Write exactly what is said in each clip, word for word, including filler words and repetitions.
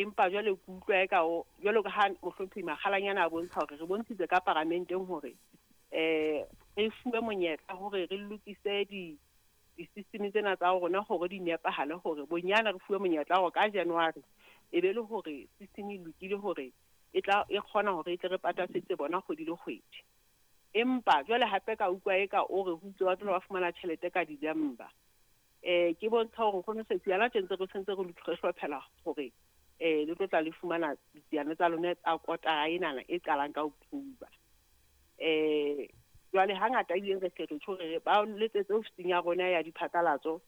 Empa jwale ke utlwa eka o jwalo ka ha mohlomphehi Makgalanyana a bontsha hore re bontshitse ka paramenteng hore eh re fuwe monyetla hore re lokise di di-system tsena tsa rona hore di nepahale, hore bonyane re fuwe monyetla hore ka January e be le hore system e lokile hore e tla e kgona hore e tle re patasetse bona kgwedi le kgwedi. Empa jwale hape ka utlwa eka o re ho itse ba tlo ba fumana tjhelete ka December. Eh ke bontsha hore nkgono Setsi hana tje ntse re sentse re re hlophela hore eh le tlo tla le fumana ditsiane tsa lona tsa kotara enana e qalang ka October. Eh jwale hangata ebile re hle re tjho re ba letsetse ofising ya rona ya diphatlalatso,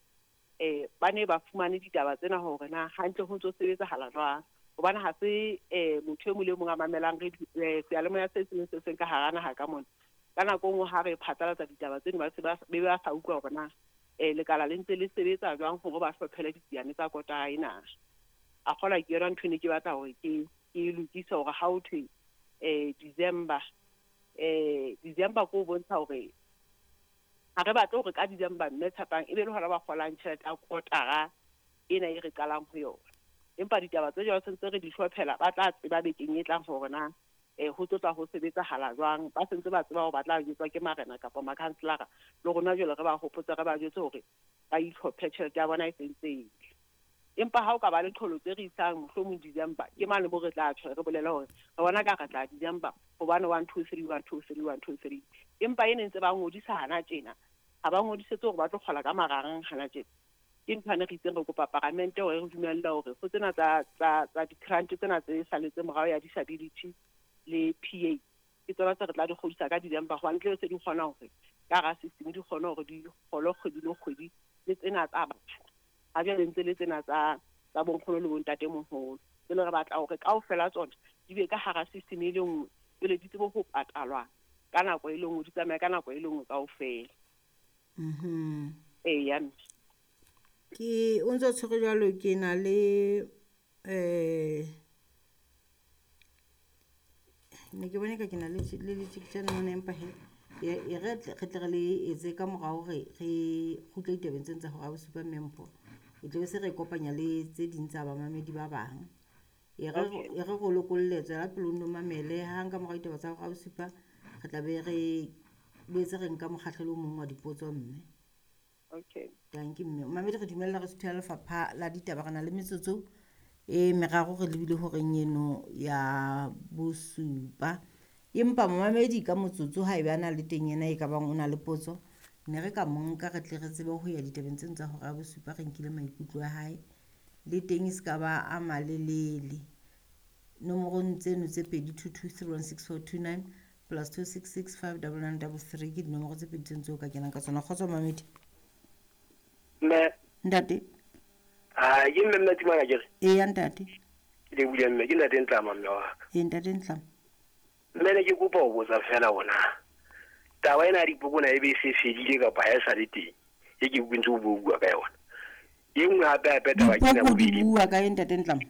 eh ba ne ba fumane ditaba tsena hore na hantle ho ntso sebetsahala jwang. Hobane ha se eh motho e mong le mong a mamelang re seyalemoya se seng se seng ka hara naha ka mona. Ka nako e nngwe ha re phatlalatsa ditaba tseno ba se ba be ba sa utlwa hore na eh lekala le ntse le sebetsa jwang hore ba hlophele ditsiane tsa kotara ena. A kgolwa ke yona ntho e ne ke batla hore ke ke e lokise hore ha ho thwe eh December, eh December ko bontsha hore ha re batle hore ka December mme Tshepang e be le hona ba kgolang tjhelete ya kotara ena e re qalang ho yona. Empa ditaba tse jwalo sentse re di hlophela, ba tla tseba bekeng e tlang hore na eh ho tlo tla ho sebetsahala jwang. Ba sentse ba tseba hore ba tla jwetswa ke marena kapa makhanselara, le rona jwale re ba hopotse re ba jwetse hore ba itlhophe tjhelete ya bona e sentse e tle. Empa ha o ka ba le qholotso e re isang mohlomong December, ke mane mo re tla tjho re bolele hore re bona ka re tla December hobane one two three one two three one two three. Empa e ne ntse ba ngodisa hana tjena, ha ba ngodisetse hore ba tlo kgola ka marang hana tjena. Ke ntho ane re itseng re kopa paramente hore re dumelle hore ho tsena tsa tsa tsa di-grant tsena tse saletse morao ya disability le P A, ke tsona tse re tla di kgodisa ka December, hobane tle se di kgona hore ka hara system di kgone hore di kgolwe kgwedi le kgwedi, le tsena tsa batjha. Ha jwale ntse le tsena tsa tsa bonkgono le bontatemoholo. Jwale re batla hore kaofela tsona di be ka hara system e le nngwe, jwale di tsebe ho patalwa ka nako e le nngwe, di tsamaye ka nako e le nngwe kaofela. Mhm. Eya, mme. Ke o ntso tshwere jwalo, ke na le eh ne ke bone ka ke na le le letjeketjane mona, empa he e re re tle re le etse ka morao hore re kgutle ditabeng tsena tsa hora ya bosupa mme Mpho. E tla be se re kopanya le tse ding tsa bamamedi ba bang. E re Okay. e re go lokolle, tswela pele o nno mamele. Hang ka morao ditaba tsa hora ya bosupa re tla be re boetse re nka mokgahlelo o mong wa dipotso mme. Okay. Dankie mme. Mamedi re dumella re suthela lefapha la ditaba, re na le metsotso e meraro re lebile horeng eno ya bosupa. Empa momamedi ka motsotso ha ebe a na le teng ena e ka bang o na le potso, ne re ka mo nka re tle re tsebe ho ya ditabeng tseno tsa hora ya bosupa, re nkile maikutlo a hae. Le teng e se ka ba a malelele. Nomorong tseno tse pedi two two three one six four two nine plus two six six five double nine double three ke dinomoro tse pedi tseno tseo ka kenang ka tsona. Kgotso mamedi. Mme. Ntate. Ah, ke mme mme Timana ke re? Eya, ntate. Ke lebohile mme, ke ntate Ntlama mme wa ka. Ee, ntate Ntlama. Mme ne ke kopa ho botsa fela hore na taba ena ya dipoko na ebe e se fedile kapa ha e sa le teng, e ke utlwe ntse o bua ka yona. E nngwe hape hape taba ke ena Dipoko di bobedi. bua ka eng, ntate Ntlama?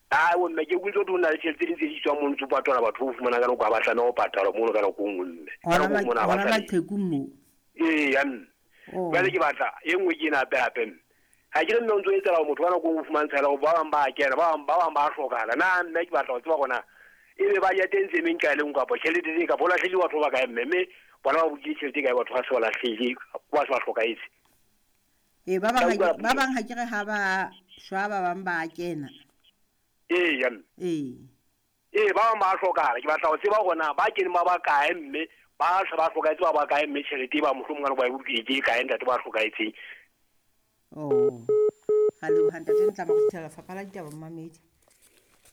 Ah, o mme ke utlwe ntse ho na le tjhelete tse ding tse di tswang mono ntse o patala batho o fumana ka nako ha ba tlameha ho patalwa mono ka nako e nngwe mme. Ka Hona nako e nngwe ha ba hona tlameha. maqheku moo. Eya, mme. Oh. Jwale ke batla e nngwe ke ena hape hape mme. Ha ke re mme o ntso etsahala hore motho ka nako e nngwe o fumantshela hore ba bang ba a kena, ba bang, ba bang ba a hlokahala. Na mme ke batla ho tseba hore na ebe ba ja teng tse meng kae le nngwe kapa tjhelete tse kapa ho lahlehile batho ba kae mme, mme bona ba bolokile tjhelete kae batho ba se ba lahlehile, ba se ba hlokahetse. Ee, ba bang ha Ka ke, utlwa ba bang ha ke re ha ba shwa, ba bang ba a kena. Eya, mme. Ee. Ee, ba bang ba a hlokahala. Ke batla ho tseba hore na ba keneng ba ba kae mme, ba se ba hlokahetse ba ba kae mme tjhelete e ba mohlomong ka nako ba e bolokile ke e kae ntate ba hlokahetseng. Oh. Ga leboha ntate Ntlama go fitlhela lefapha la ditaba momamedi.